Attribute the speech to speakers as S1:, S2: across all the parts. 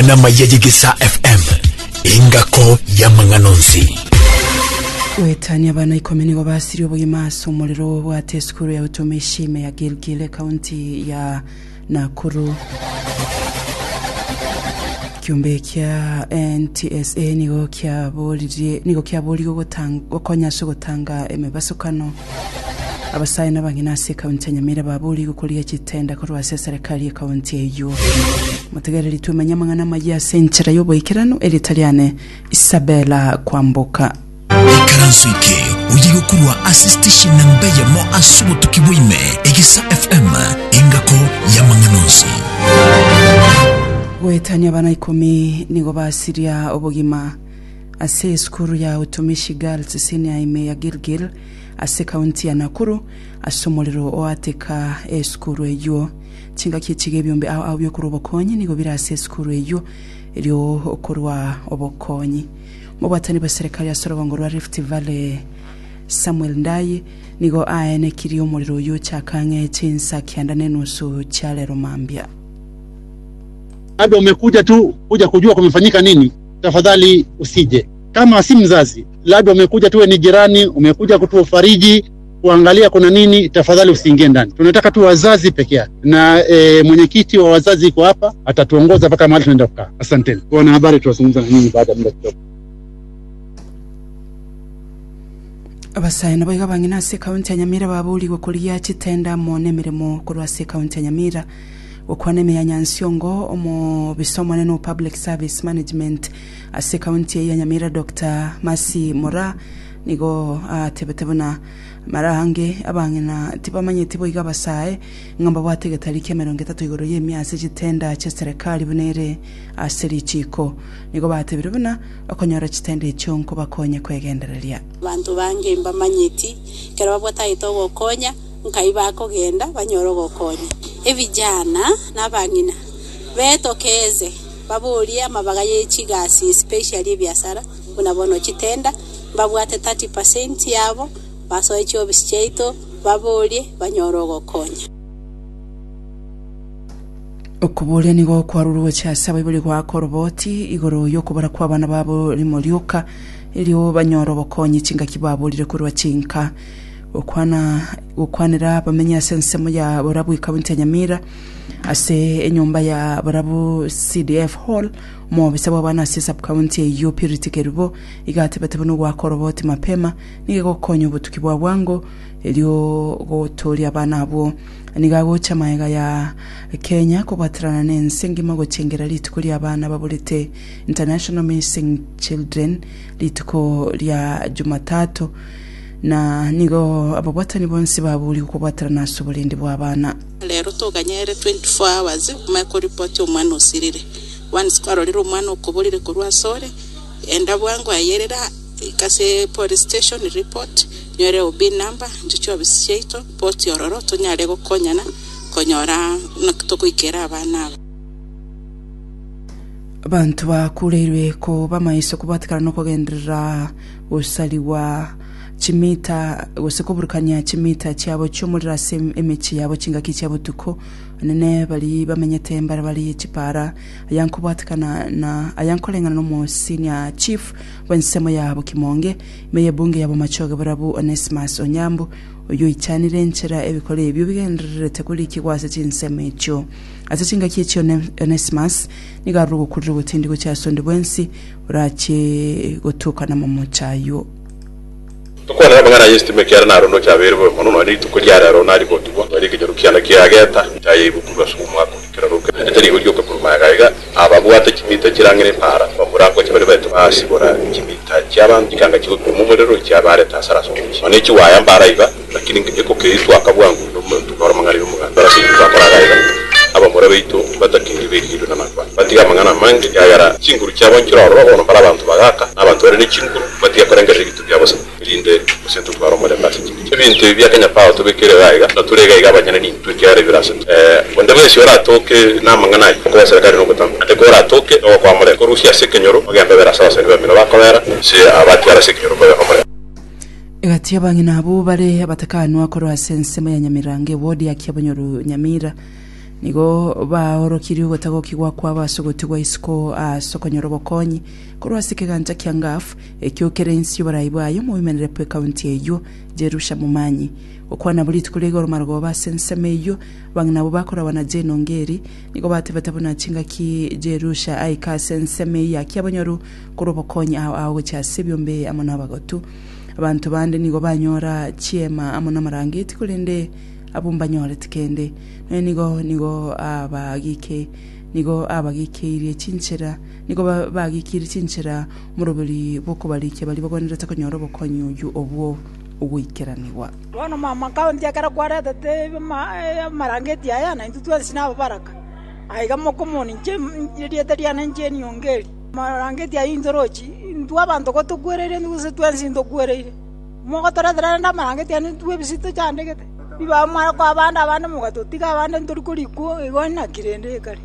S1: Amang'ana amaya y'Egesaa FM, engako y'amang'ana onsi.
S2: Goetania abana ikomi nigo basirie obogima ase omorero obwate esukuru ya utumishi ime ya Gilgil ekaunti ya Nakuru. Ekiombe kia NTSA nigo kiaboririe nigo kiaborigwe gotang- gokonya ase ogotanga emebasokano. Abasae na abang'ina ase ekaunti ya Nyamira baborigwe korigia chitenda korwa ase eserekari y'ekaunti eyio. Motegereri twemenye amang'ana amayia ase enchera y'oboikeranu erieta riane Isabella Kwamboka.
S1: Ikaranso eke oye gokorwa ase station namba eyemo ase obotuki bwa ime, Egesa FM, engako y'amang'ana onsi.
S2: Goetania abana ikomi nigo basiria obogima ase esukuru ya Utumishi Girls Senior ime ya Gilgil ase ekaunti ya Nakuru ase omorero oateka esukuru eyio. Chingaki echi iga ebiombe ao ao biokorwa obokonyi nigo bire ase esukuru eyio erio okorwa obokonyi. Omobwatani bw'eserekari ase orogongo rwa Rift Valley Samuel Ndayi nigo aenekirie omorero oyio ochaka ang'e chinsa kianda na enusu chia rero mambia.
S3: Labda umekuja tu kuja kujua kumefanyika nini, tafadhali usije. Kama si mzazi, labda umekuja tuwe ni jirani, umekuja kutufariji kuangalia kuna nini, tafadhali usiingie ndani. Tunataka tu wazazi peke yake, na e, mwenyekiti wa wazazi iko hapa, atatuongoza mpaka mahali tunaenda kukaa. Asanteni wanahabari, tutazungumza na nyinyi baada ya muda kidogo.
S2: Abasae naboigo abang'ina ase ekaunti ya Nyamira baborigwe korigia chitenda amo nemeremo korwa ase ekaunti ya Nyamira. Gokwana ime ya Nyansiongo, omobisa omonene o Public Service Management ase ekaunti eye ya Nyamira Doctor Mercy Moraa Nigo atebete buna mara aange abang'ina tibamanyeti boigo abasae ng'a mbabwate egetari ki'emerongo etato igoro y'emia ase chitenda chi'eserekari buna ere ase richiiko. Nigo batebire buna okonyora chitenda echio nkobakonye kwegendereria.
S4: Abanto bange mbamanyeti, ekero babwatagete ogokonya, nkai bakogenda banyore ogokonya. Ebijana na abang'ina betokeze baborie amabaga ye chigasi especially ebiasara buna bono chitenda, mbabwate 30 percent yabo, basoe chiofisi chiaito, baborie, banyore ogokonya.
S2: Okoboria nigo kwarurwe gochia ase abaibori goaka oroboti igoro y'okobora kw'abana babo rimo rioka, erio banyore obokonyi chingaki baborire korwa chinka. Gokwana gokwanera abamenyi ase ensemo ya Borabu ekaunti ya Nyamira ase enyomba ya Borabu CDF Hall, omobisa bw'abana ase esub-county eyio Purity Kerubo Iga atebete buna ogoaka oroboti mapema nigo egokonya obotuki bwa bwango erio gotooria abana abwo. Nigo agocha magega ya Kenya kobwaterana nense engima gochengera rituko ria abana baborete International Missing Children rituko ria Jumatatu na nigo ababwatani bonsi baborigwe kobwaterana ase oborendi bwa abana.
S4: Rero toganyere 24 hours omanye koripoti omwana osirire. Once kwarorire omwana okoborire korwa asore, Enda bwango ayerera ika ase police station report, nyore OB number, inche chiofisi chiaito, report ororo tonyare gokonyana konyora naki togoikera abana aba.
S2: Abanto bakureirwe koba maiso kobwatekana nokogenderera gosarigwa chimita gose koburukania chimita chiabo chi'omorero ase emechie yabo chingaki chia botuko. Onene baria bamenyete mbarabare ye chipara Aya nkobwatekana na aya nkoreng'ana nomo senior chief bw'ensemo ya Bokimonge ime y'ebunge ya Bomachoge Borabu Onesmus Onyambu oyio oichanire enchera ebikora ebio bigendererete korikigwa ase chinsemo echio. Ase chingaki echio Onesmus nigo arure ogokurera ogotindi gochia ase onde bwensi orachie gotuka namamocho ayio.
S5: Tokwanere amang'ana ay'esitima ekiagera naro ndoche abeire bobe mono, nonya rituko ria rero naribotigwa, nonya ekenyoro kiane kiageta, ntayaigwe korwa ase omwaka oria kera roke, naende tari igo rioka korwa magega aiga, ababwate chimita chirang'ina epaara, bamura ngocha baria baete basibora chimita chi'abanto, chikanga chigopima omorero chiabareta asara ase omochie. Nonya chiwaya mbara iga, lakini ekokeitwa aka bwango tokora amang'ana y'omoganda. Ase intwe twakora iga iga, abamura baito mbatakeiri berigerio na nakwana, batige amang'ana amange, ekiagera chinguru chiabo nchire ororo, bono mbare abanto bagaka, na abanto bare ne chinguru, batige korengereria ebinto bia bosa, erinde gose ntotware omorembe ase chingencho. Ebinto ebi bia Kenya Power tobekeire iga iga, na tore iga iga abanyene nintwe, ekiagera ebire ase intwe. Onde bwensi oratoke namang'ana ayio, okoba eserekari nogotama, naende koratoke nogokoa morembe, korusia ase ekenyoro, ogende obere ase abasani bamino bakobera, ase abatigare ase ekenyoro mbabe nomorembe.
S2: Egati y'abang'ina abwo bare abatakanwa korwa ase ensemo ya Nyamirango ewodi ya Kiabonyoru Nyamira. Nigo baorokirie ogotagokigwa kwabo ase ogotigwa isiko ase okonyora obokonyi korwa ase ekegancha kia Ngaf ekio kere inse y'oborai bwaye omoimenere bw'ekaunti eyio Jerusha Momanyi. Gokwana bo rituko ria igoro marogoba ase ensemo eyio abang'ina abwo bakoragwa na Jane Ongeri nigo batebete buna chingaki Jerusha aika ase ensemo eyio ya Kiabonyoru korwa obokonyi ao ao gochia ase ebiombe amo nabagotu. Abanto bande nigo banyora chiema amo namarangeti korende abwo mbanyoreti kende. Nonya nigo nigo abagike nigo abagikeirie chinchera nigo bagikirie chinchera omoroberi bw'okobarikia baria bagwenerete konyora obokonyi oyio obwo ogoikeranigwa.
S6: Bono mama kaunti ekero kwaretete amarangeti aya, naintwe twensi nababaraka. Aiga mokomoni inche erieta riane inche Niongeri. Amarangeti ayio intorochi, intwe abanto gotokwereire gose twensi ntokwereire. Mogotoretera rende amarangeti aya intwe ebise tochandegete. Ribaga mware koa abande abande mogatotiga abande ntori korikwa igo naki rende ekare.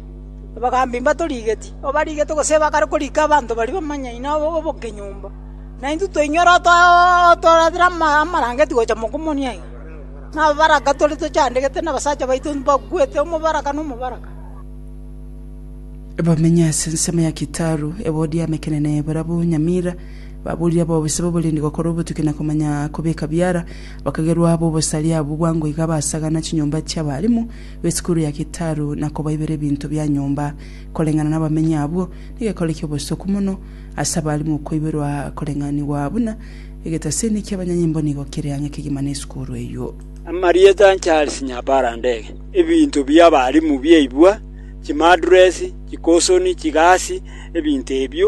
S6: Abagambi mbatorigeti, obarigete gose bakare korika abanto baria bamanyaine obokenyomba. Na intwe twainyora otoretera amarangeti gocha mokomonia iga. Na ababaraka tore tochandegete na abasacha baito mbakwete, omobaraka na omobaraka.
S2: Bamenye ase ensemo ya Kitaru, ewodi ya Mekenene, barabwo Nyamira, baborire abobisa b'oborendi gokora obotuki na komanya kobeka biara, bakagerwa ab'obosaria abwo bwango iga basagana chinyomba chi'abalimu b'esukuru ya Kitaru na kobaibera ebinto bia nyomba. Koreng'ana nabamenyi abwo, negekore ki'obosoku mono ase abalimu koiberwa koreng'anigwa buna egetaseni ki'abanyanyimbo nigo kere ang'e kegima nesukuru eyio.
S7: Amarieta Charles Nyabara Ndege, Ebinto bi'abalimu biaibwa, chimadresi, chikosoni, chigasi, ebinto ebio.